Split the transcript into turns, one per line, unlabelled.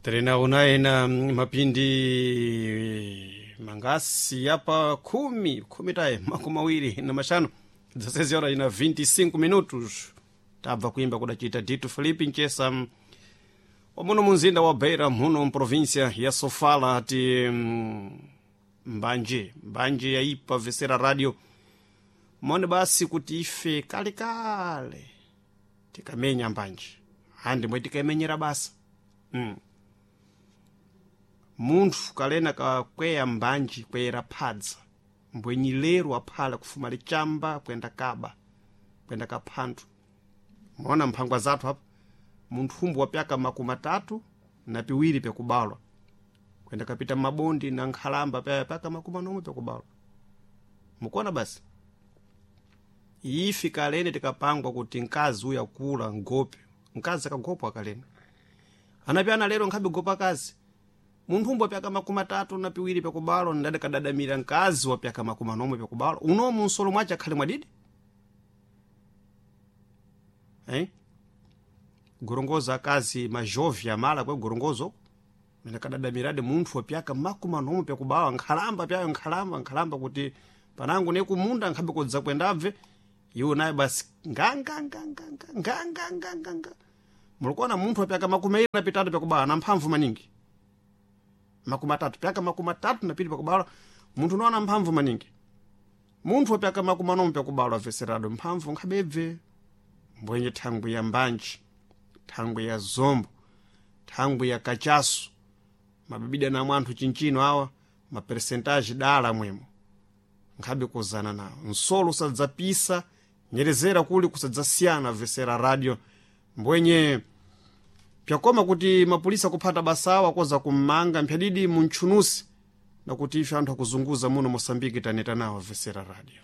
Trenaona ena mapindi mangasi yapa 10 10 taye 25 16 horas ina 25 minutos. Tabva kuimba kudachita Dito Felipe Nchesa wamuno munzinda wa Beira, muno mprovíncia ya Sofala. Ati mbanje mbanje yaipa vesera radio mone basi kuti ife kalekale tikamenya mbanje handi mwe tikaimenyera basa. Munthu kalena kakweya mbanji kweyera phadza mbwenyi lero aphala kufuma lichamba kwenda kaba kwenda kaphanthu. Mona mphangwa zathu apa, munthu umbu wapyaka 32 pyakubalwa kwenda kapita mabondi na nkhalamba paya pyaka 40 pyakubalwa. Mukuona basi ifi kalene tikapangwa kuti mkazi uyu akula ngope, mkazi akagopwa kalene anapyana lero nkhabe gopa kazi. Munthu umbu wapyaka 32 pyakubalwa ndade kadadamira mkazi wapyaka 40 pyakubalwa unomu nsolo mwace akhale mwadidi, eh? Gorongoza akazi majovi amala kwe gorongozo mene kadadamirade munthu wapyaka 40 pyakubalwa nkhalamba pyayo nkhalamba nkhalamba kuti panangu nekumunda nkhabe kodza kwendabve iwo naye basi nganganganganganganganganga. Mulikuona munthu wapyaka 23 pyakubalwa na mphamvu maningi, 30 pyaka 32 pyakubalwa munthu unaona mphamvu maningi. Munthu wapyaka 40 pyakubalwa veserado mphamvu nkhabebve. Mbwenye thangwi ya mbanji, thangwi ya zombo, thangwi ya kachasu, mabibida namwe anthu chinchino awa maperesentaji dala mwemo nkhabe kuzana nawo nsolo usadzapisa nyerezera kuli kusadzasiyana vesera radio. Mbwenye pyakoma kuti mapulisa kuphata basawa akoza kummanga mphyadidi muntchunusi, nakuti ife anthu akuzunguza muno Mosambiki taneta nawo vesera radio.